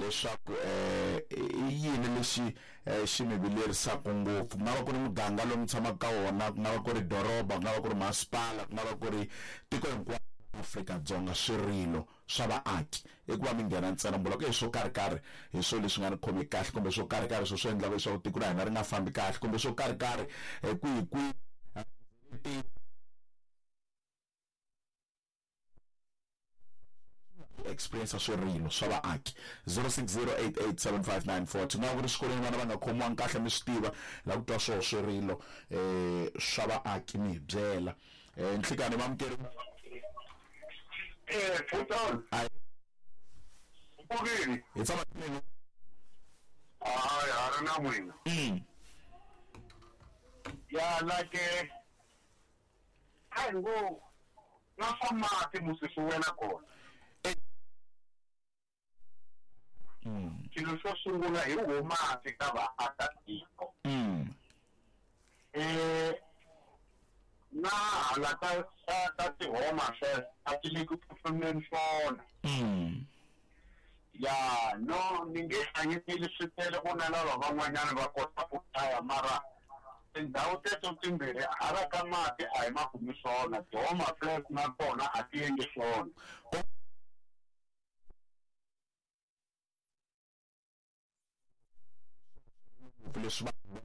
Leswaku i yini lexi xi mi vilerisaka ngopfu. Ku nga va ku ri muganga lowu mi tshamaka ka wona, ku nga va ku ri doroba, ku nga va ku ri masipala, ku nga va ku ri tiko hinkwaro Afrika-Dzonga, swirilo swa vaaki i ku va mi nghena ntsena mi vula ku swo karhi-karhi hi swo leswi nga ni khomi kahle, kumbe swo karhi-karhi swo swi endlaka leswaku tiko ra hina ri nga fambi kahle, kumbe swo karhi-karhi kwihi kwihi. Experience swirilo swa vaaki. 0608875942. Nga ku ri swikolweni vana va nga khomiwangi kahle, mi swi tiva la ku twa swoho swirilo swa vaaki, mi hi byela. Nhlikani vamukeri. Futan. Mpfukile. Hi tshama mina. Hayi, ha ri na n'wina. Ya la ke a hi ngo na swa mati musi swi wela kona. Xilo xo sungula hi wo mati ka vaakatiko. Na hala ka ti-home affairs a ti le ku pfumeni swona. Ya no ni nge hlanganyeli swi tele ku na lava van'wanyana va kota ku hlaya, mara tindhawu teto timbirhi hala ka mati a hi ma kumi swona, ti-home affairs na tona a ti endli swona. Leswi vanhu